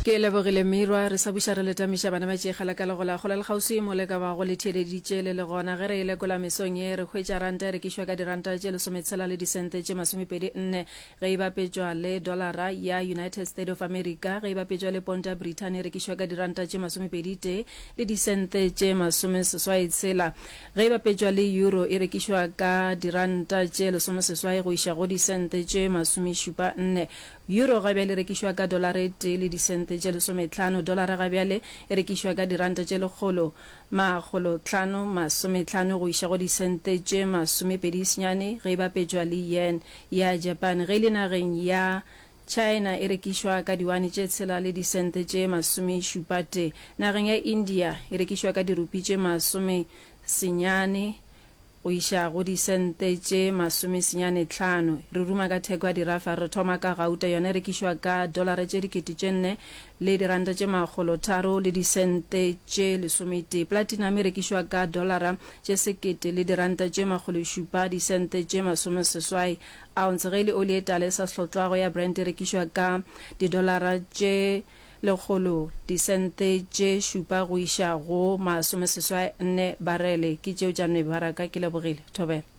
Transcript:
Ke lebogile Mirwa, re sa buša re le tamiša bana ba tšeegela ka legola kgole le kgauswi mo le ka bago le theeleditše le le gona. Ge re e lekola mesong ye, re hwetša ranta e rekišwa ka diranta tše lesometshela le disente tše masomepedi nne ge e bapetšwa le dolara ya United State of America, ge e bapetšwa le ponta ya Brithani e rekišwa ka diranta tše masomepedi tee le disente tše masomeseswai tshela, ge e bapetšwa le euro e rekišwa ka diranta tše lesomeseswai go iša go disente tše masomešupa nne. Euro ga bjale e rekišwa ka dolara e tee le disente tše lesometlhano. Dolara ga bjale e rekišwa ka diranta tše lekgolo makgolotlhano masometlhano go iša go disente tše masomepedi senyane ge e bapetšwa le yen ya Japan. Ge e le nageng ya China e rekišwa ka diwane tše tshela le disente tše masomešupa tee. Nageng ya India e rekišwa ka dirupi tše masomesenyane Go iša go disente tše masomesenyanetlhano. Re ruma ka theko ya dirafa. Re thoma ka gauta, yona e rekišwa ka dolara tše dikete tše nne le diranta tše makgolotharo le disente tše lesometee. Platinum e rekišwa ka dolara tše sekete le diranta tše makgološupa disente tše masomeseswai ounce. Ge e le oli e tala e sa hlotlwago ya Brent e rekišwa ka didolara tše Lekgolo, disente tše šupa go iša go masomeseswai nne barele. Ke tšeo tša mebaraka. Ke lebogile. Thobela.